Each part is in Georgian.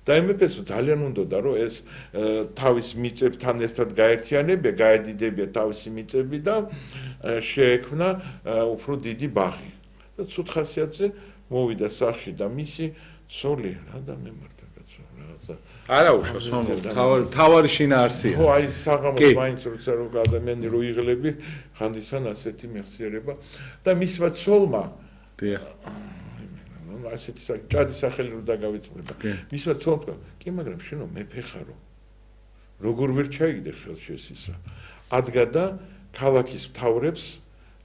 და მეფეს ძალიან უნდოდა რომ ეს თავის მიწებთან ერთად გაერთიანებია, გაედიდებია თავისი მიწები და შეექმნა უფრო დიდი ბაღი. და ცუდ ხასიათზე მოვიდა სახში და მისი ცოლი რა და მემართა კაცო რაღაცა არა უშავს თავარი შინაარსია. ხო აი საღამოს მაინც როცა რო ადამიანი რო იღლები ხანდისან ასეთი მეხსიერება და მისმა ცოლმა დიახ ასეთი ჭადის სახელი რო დაგავიწყდება. მისმა ცოლმა კი მაგრამ შენო მეფე ხარო. როგორ ვერ ჩაიგდე ხელში ეს ისა. ადგა და ქალაქის მთავრებს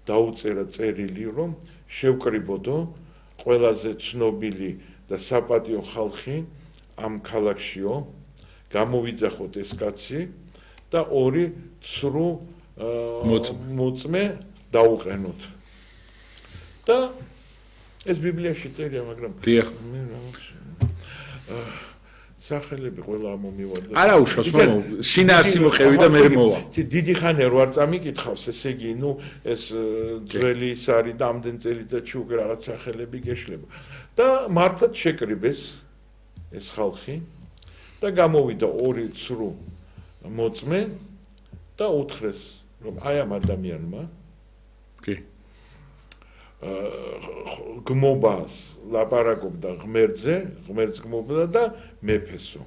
დაუწერა წერილი რომ შევკრიბოდო ყველაზე ცნობილი და საპატიო ხალხი ამ ქალაქშიო გამოვიძახოთ ეს კაცი და ორი ცრუ მოწმე დაუყენოთ. და ეს ბიბლიაში წერია, მაგრამ დიახ სახელები ყველა მომივარდა. არა უშავს, მაგრამ შინაარსი მოყევი და მე მოვა. დიდი ხანია რო არ წამიკითხავს, ესე იგი, ნუ ეს ძველი ის არის და ამდენ წელიწადში უკვე რაღაც სახელები გეშლება. და მართლაც შეკრიბეს ეს ხალხი და გამოვიდა ორი ცრუ მოწმე და უთხრეს, რომ აი ამ ადამიანმა კი გმობას ლაპარაკობდა ღმერთს გმობდა და მეფესო.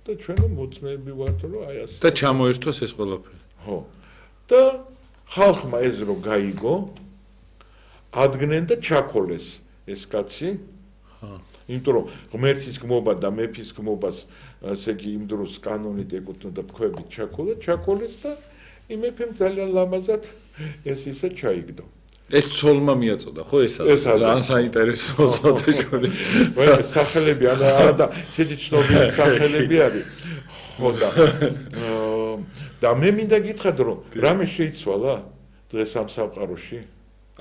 და ჩვენო მოწმეები ვართ რომ აი ასე. და ჩამოერთვას ეს ყველაფერი. ხო. და ხალხმა ეს რო გაიგო, ადგნენ და ჩაქოლეს ეს კაცი. ხო. იმიტომ რომ ღმერთის გმობა და მეფის გმობას ესე იგი იმ დროს კანონით ეკუთვნოდა თქვებით ჩაქოლეს და იმ მეფემ ძალიან ლამაზად ეს ისე ჩაიგდო. ეს ცოლმა მიაწოდა, ხო ესაც? ძალიან საინტერესოა საერთოდ. ვაი, სახელები არა და შედი ცნობილი სახელები არის. ხო და მე მინდა გითხრათ რომ რამე შეიცვალა დღეს ამ სამყაროში?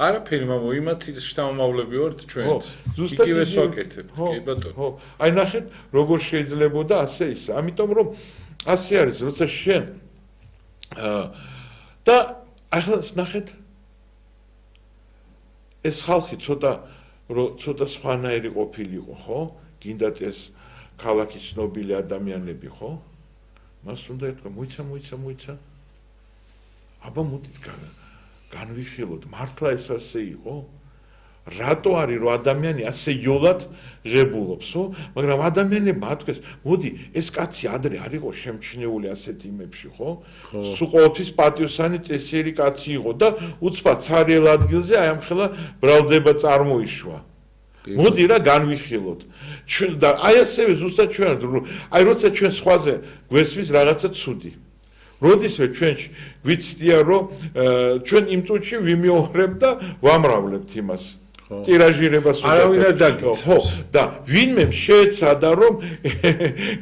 არაფერი მამო, იმათი შთამომავლები ვართ ჩვენც. იგივე ვაკეთებ, კი ბატონო. ხო, აი ნახეთ როგორ შეიძლებოდა ასე ისა. ამიტომ რომ ასე არის, როცა შენ და ახლა ნახეთ ეს ხალხი ცოტა სხვანაირი ყოფილიყო, ხო? გინდათ ეს ქალაქის ცნობილი ადამიანები, ხო? მას უნდა ეთქვა, მოიცა. აბა მოდით განვიხილოთ, მართლა ეს ასე იყო? რატო არის რომ ადამიანი ასე იოლად ღებულობს, ხო? მაგრამ ადამიანებმა ათქვეს, მოდი, ეს კაცი ადრე არ იყო შემჩნეული ასეთ იმებში, ხო? სულ ყოველთვის პატიოსანი წესიერი კაცი იყო და უცბად ცარიელ ადგილზე აი ამ ხელა ბრალდება წარმოიშვა. მოდი რა განვიხილოთ. და აი ასევე ზუსტად ჩვენ აი როცა ჩვენ სხვაზე გვესმის რაღაცა ცუდი. როდისმე ჩვენ გვიცდია რომ ჩვენ იმ წუთში ვიმეორებ და ვამრავლებთ იმას. ტირაჟირებას არავინ არ დაგიცავს. ხო, და ვინმე შეეცადა რომ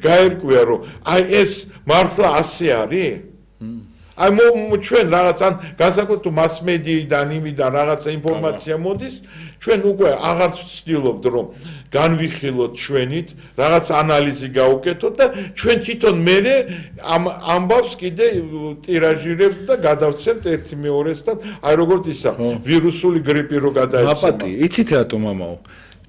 გაერკვია რომ აი ეს მართლა ასე არის? აი ჩვენ რაღაც ან განსაკუთრებით მასმედიიდან იმიდან რაღაცა ინფორმაცია მოდის, ჩვენ უკვე აღარ ვცდილობთ რომ განვიხილოთ ჩვენით, რაღაც ანალიზი გავუკეთოთ და ჩვენ თვითონ მერე ამ ამბავს კიდე ტირაჟირებთ და გადავცემთ ერთი მეორესთან, აი როგორც ისა ვირუსული გრიპი რო გადაეცემა. აპატი, იცით რატო მამაო?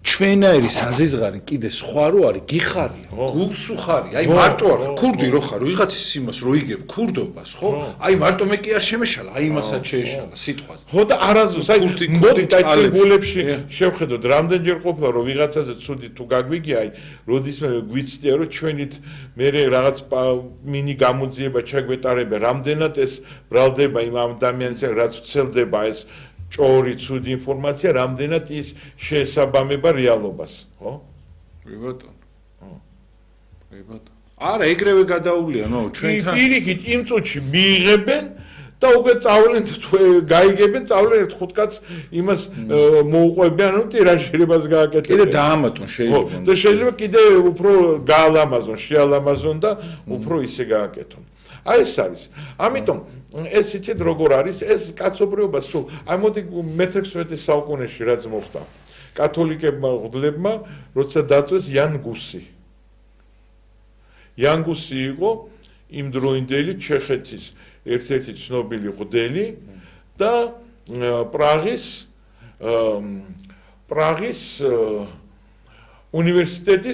ჩვენაირი საზიზღარი კიდე სხვა რო არის, გიხარია, გულს უხარი, აი მარტო არ ქურდი რო ხარ, ვიღაცის იმას რო იგებ ქურდობას, ხო? აი მარტო მე კი არ შემეშალა, აი იმასაც შეეშალა სიტყვაზე. ხო და არაზუსტ, აი მოდით აი ჩვენ გულებში შევხედოთ, რამდენჯერ ყოფილა რომ ვიღაცაზე ცუდი თუ გაგვიგია, აი როდისმე გვიცდია რომ ჩვენით მე რაღაც მინი გამოძიება ჩაგვეტარება, რამდენად ეს ბრალდება იმ ადამიანს, რაც ვცელდება ეს ჭორი ცუდი ინფორმაცია, რამდენად ის შეესაბამება რეალობას, ხო? კი ბატონო. კი ბატონო. არა, ეგრევე გადაულია, ნო, ჩვენთან. პირიქით იმ წუთში მიიღებენ და უკვე წავლენ გაიგებენ, წავლენ ერთ ხუთ კაცს იმას მოუყვებიან, რომ ტირაჟირებას გააკეთებენ. კიდე დაამატონ შეიძლება. და შეიძლება კიდე უფრო გაალამაზონ, შეალამაზონ და უფრო ისე გააკეთონ. აი ეს არის. ამიტომ ეს იცით როგორ არის, ეს კაცობრიობა სულ. აი მოდი მე-16 საუკუნეში რაც მოხდა. კათოლიკებმა ღმერთებმა როცა დაწვეს იან გუსი. იან გუსი იყო იმდროინდელი ჩეხეთის ერთ-ერთი ცნობილი ღმერთელი და პრაღის უნივერსიტეტის